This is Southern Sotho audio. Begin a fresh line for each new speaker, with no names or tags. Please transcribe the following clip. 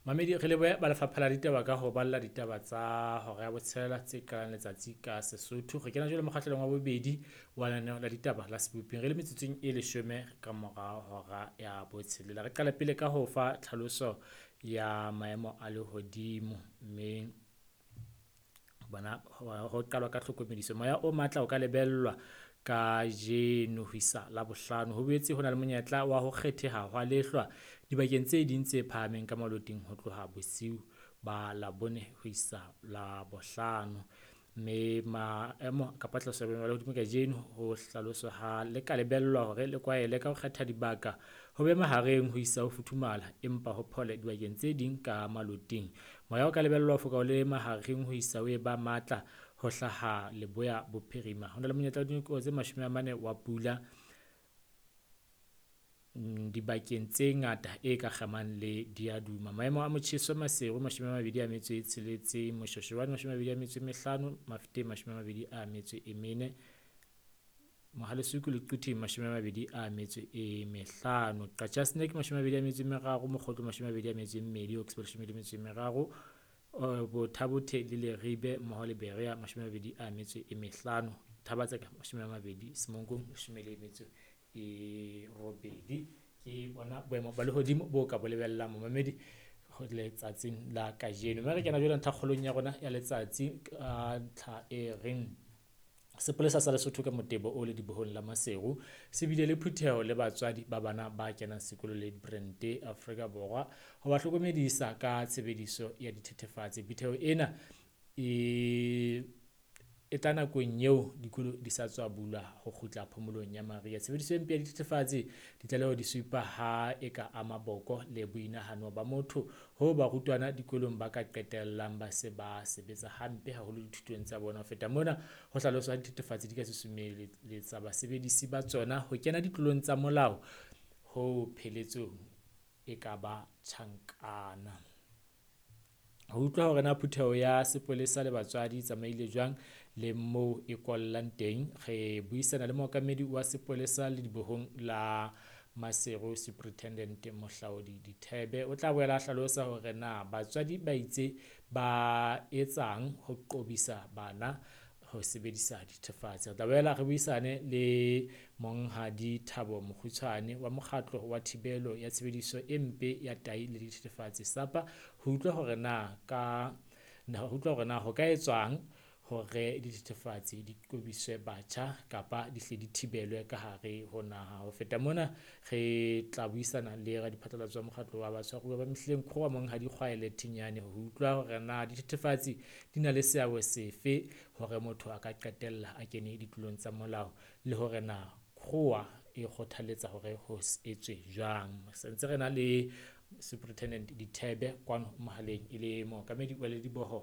Mamedi re lebohe ba lefapha la ditaba ka ho balla ditaba tsa hora ya botshelela tse qalang letsatsi ka Sesotho. Re kena jwale mokgahlelong wa bobedi wa lenaneo la ditaba la Seboping re le metsotsong e leshome ka mora hora ya botshelela. Re qala pele ka ho fa tlhaloso ya maemo a lehodimo, mme bona ho qalwa ka tlhokomediso. Moya o matla o ka lebellwa kajeno ho isa Labohlano. Ho boetse ho na le monyetla wa ho kgetheha hwa lehlwa dibakeng tse ding tse phahameng ka maloting ho tloha bosiu ba Labone ho isa Labohlano. Mme maemo kapa tlhahiso ya boemo ba lehodimo kajeno ho hlaloswa ha le ka lebellwa hore le kwaele ka ho kgetha dibaka ho be mahareng ho isa ho futhumala, empa ho phole dibakeng tse ding ka maloting. Moya o ka lebellwa ho foka o le mahareng ho isa ho e ba matla ho hlaha leboya bophirima. Ho na le monyetla wa dinako tse 40 wa pula dibakeng tse ngata e ka kgemang le diaduma. Maemo a motjheso Maseru 26, Moshoeshoane 25, Mafeteng 24, Mohale'shoek le Quthing 25, Qacha's Nek 23, Mokhotlong 22, Hogsback 13, Botha-Bothe le Leribe mmoho le Berea 25, Thaba-Tseka 20, Semonkong 18. Ke bona boemo ba lehodimo bo ka bo lebellang momamedi letsatsing la kajeno. Mme re kena jwale ntlhakgolong ya rona ya letsatsi ka ntlha e reng sepolesa sa Lesotho ka motebo o ledibohong la Maseru se bile le phutheho le batswadi ba bana ba kenang sekolo le Brente Afrika Borwa ho ba hlokomedisa ka tshebediso ya dithethefatsi. Phutheho ena e tla nakong eo dikolo di sa tswa bulwa ho kgutla phomolong ya mariha. Tshebediso e mpe ya dithethefatsi ditlaleho di supa ha e ka ama boko le boinahano ba motho ho barutwana dikolong ba ka qetellang ba se ba sebetsa hampe haholo dithutong tsa bona. Ho feta mona, ho hlaloswa ha dithethefatsi di ka susumelletsa basebedisi ba tsona ho kena ditlolong tsa molao ho pheletsong e ka ba tjhankana. Ho utlwa hore na phutheho ya sepolesa le batswadi e tsamaile jwang le moo e kollang teng, re buisana le mookamedi wa sepolesa ledibohong la Maseru Superintendent Mohlaodi Dithebe. O tla boela a hlalosa hore na batswadi ba itse ba etsang ho qobisa bana ho sebedisa dithethefatsi. Re tla boela re buisane le Monghadi Thabo Mokgutshwane wa mokgatlo wa thibelo ya tshebediso e mpe ya tahi le dithethefatsi SAPA ho utlwa hore na ka ho utlwa hore na ho ka etswang hore dithethefatsi di qobiswe batjha kapa di hle di thibelwe ka hare ho naha. Ho feta mona, re tla buisana le radiphatlalatso wa mokgatlo wa batshwaruwa ba mehleng Kgowa Monghadi Kgwaele Thinyane ho utlwa hore na dithethefatsi di na le seabo sefe hore motho a ka qetella a kene ditlolong tsa molao le hore na Kgowa e kgothaletsa hore ho etswe jwang. Sentse re na le Superintendent Dithebe kwano mohaleng e le mookamedi wa lediboho.